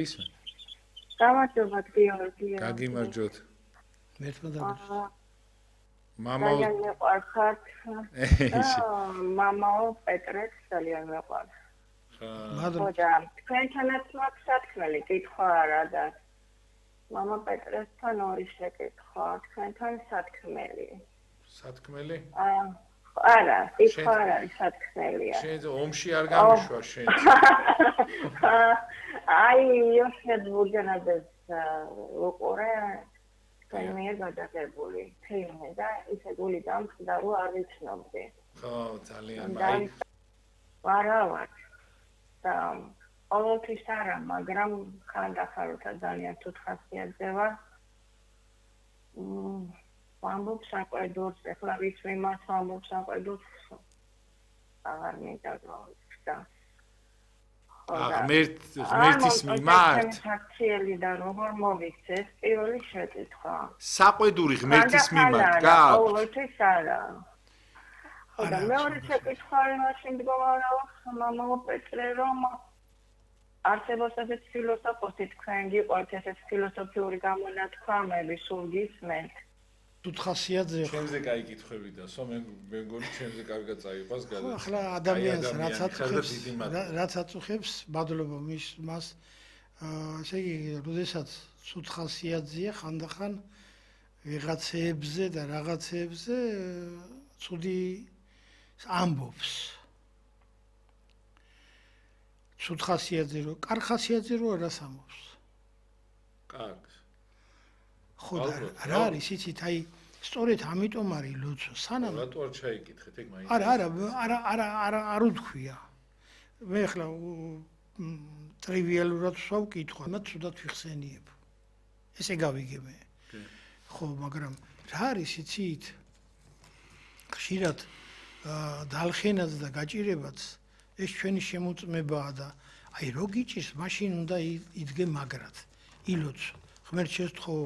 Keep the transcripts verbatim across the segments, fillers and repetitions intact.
ისმენ. გამარჯობა გიორგი. გაგიმარჯოთ. მერტმა და მამა ძალიან მეყვარხართ. მამაო პეტრეს ძალიან მეყვარს. ხოდა თქვენთანაც მაქვს სათქმელი კითხვა არა და მამა პეტრესთან ორი შეკითხვა თქვენთან სათქმელი. სათქმელი? აა არა, კითხვა არა, სათქმელია. შენ ომში არ გამიშვა შენ. აი, იოსებ ბურჯანაძეს უყურე კაინია გადაღებული ფილმი და ისე გული დამხდა რომ არ ვიცნობდი. ხო, ძალიან აი. ვარავად. და ყოველთვის არა, მაგრამ ხანდახაროთა ძალიან თუთხასიათზე ვარ. მმ ვამბობ საყვედურს, ეხლა ვის მიმართ ვამბობ საყვედურს აღარ მინდა გავიქცა. ღმერთ ღმერთის მიმართ ფაქციელი და როგორ მოვიქცეს პირველი შეკითხვა. საყვედური ღმერთის მიმართ გააქვთ? ყოველთვის არა. ხოდა მეორე შეკითხვა იმაში მდგომარეობს მამაო პეტრე რომ არსებობს ესეთ ფილოსოფოსი თქვენ გიყვართ ესეთ ფილოსოფიური გამონათქვამები სულ გისმენთ? თუთხასიათზე ჩემზე კაი კითხვები და სო მე მეგონი ჩემზე კარგად წაიყვას გადა. ახლა ადამიანს რაც აწუხებს რაც აწუხებს მადლობა მის მას ესე იგი როდესაც თუთხასიათზეა ხანდახან ვიღაცებზე და რაღაცებზე ცუდი ამბობს. თუთხასიათზე რო კარხასიათზე რო არას ამბობს. კარგს. ხო და რა არის იცით აი სწორედ ამიტომ არის ლოცვა სანამ რატო არ ჩაიკითხეთ ეგ მაინც არა არა არა არა არა არ უთქვია მე ხლა ტრივიალურად ვსვავკითხვა მათ თუდად ვიხსენიებ ესე გავიგე მე ხო მაგრამ რა არის იცით ხშირად დალხენაც და გაჭირებაც ეს ჩვენი შემოწმებაა და აი რო გიჭირს მაშინ უნდა იდგე მაგრად ილოც ღმერთ შეესთხო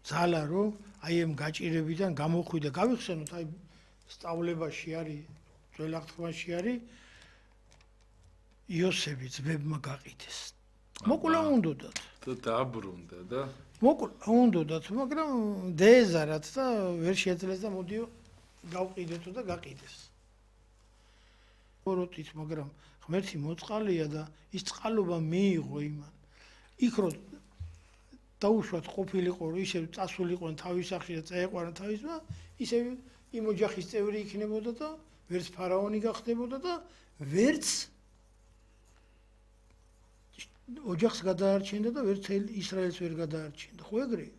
ძალა რომ აი ამ გაჭირებიდან გამოხვიდე გავიხსენოთ აი სწავლებაში არის ძველაღთქმაში არის იოსები ძმებმა გაყიდეს მოკლა უნდათ და დაბრუნდა და მოკლა უნდათ მაგრამ დეზარად და ვერ შეძლეს და მოდიო გავყიდეთო და გაყიდეს ოროტით მაგრამ ღმერთი მოწყალია და ის წყალობა მიიღო იმან იქ რო დაუშვათ ყოფილიყო რომ ისევ წასულიყო თავის სახში და წაეყვანა თავისმა ისევ იმ ოჯახის წევრი იქნებოდა და ვერც ფარაონი გახდებოდა და ვერც ოჯახს გადაარჩენდა და ვერც ისრაელს ვერ გადაარჩენდა ხო ეგრეა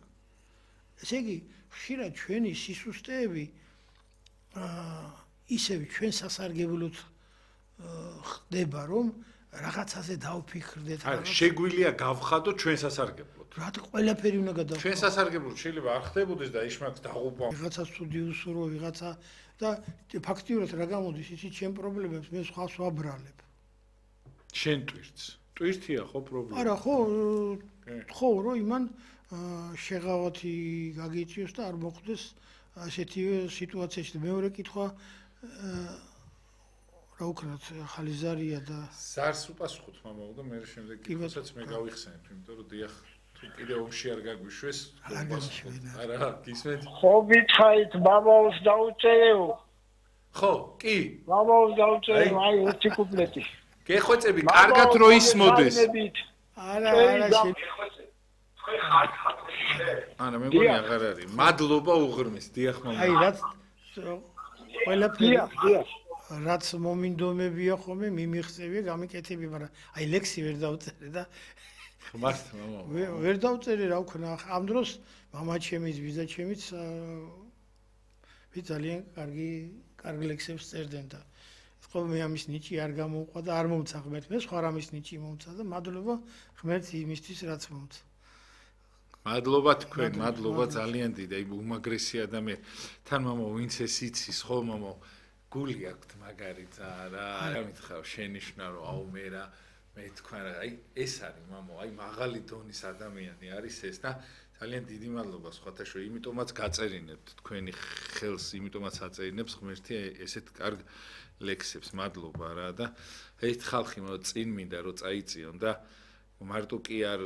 ესე იგი ხშირად ჩვენი სისუსტეები ისევ ჩვენ სასარგებლოდ ხდება რომ რაღაცაზე დავფიქრდეთ არა შეგვიძლია გავხადოთ ჩვენ სასარგებლოდ რა ყველაფერი უნდა გადავხადოთ ჩვენ სასარგებლოდ შეიძლება არ ხდებოდეს და ისმაკს დაღუპვა ვიღაცა ცუდი უსურო ვიღაცა და ფაქტიურად რა გამოდის იცი ჩემ პრობლემებს მე სხვას ვაბრალებ შენ ტვირთს ტვირთია ხო პრობლემა არა ხო ხო რომ იმან შეღავათი გაგიწიოს და არ მოხდეს ასეთივე სიტუაციაში მეორე კითხვა რა უკრათ ხალიზარია და ზარს უპასუხოთ მამაო და მე შემდეგ კითხვასაც მე გავიხსენებ იმიტომ რომ დიახ თუ კიდე ომში არ გაგვიშვეს არა გისმენთ ხო გითხარით მამაოს დაუწერეო ხო კი მამაოს დაუწერე აი ერთი კუპლეტი გეხვეწები კარგად რო ისმოდეს არა არა შე არა მე მგონი აღარ არის მადლობა უღრმეს დიახ მამაო აი რაც ყველაფერი დიახ დიახ რაც მომინდომებია ხოლმე მიმიღწევია გამიკეთები მაგრამ აი ლექსი ვერ დავწერე და ხმართ მამაო ვერ დავწერე რა ვქნა ამ დროს მამა ჩემის ვიზა ჩემიც ვი ძალიან კარგი კარგი ლექსებს წერდნენ და ხო მე ამის ნიჭი არ გამოვყვა და არ მომცა ღმერთი მე სხვა რამის ნიჭი მომცა და მადლობა ღმერთი იმისთვის რაც მომცა მადლობა თქვენ მადლობა ძალიან დიდი აი უმაგრესი ადამიანი თან მამაო ვინც ეს იცის ხო მამაო გული აქვთ მაგარი რა რა მითხარ შენიშნა რომ აუ მე რა მე თქვენ რა აი ეს არის მამო აი მაღალი დონის ადამიანი არის ეს და ძალიან დიდი მადლობა სხვათა შორის იმიტომაც გაწერინებთ თქვენი ხელს იმიტომაც აწერინებს ღმერთი ესეთ კარგ ლექსებს მადლობა რა და ერთ ხალხი მო წინ მინდა რომ წაიწიონ და მარტო კი არ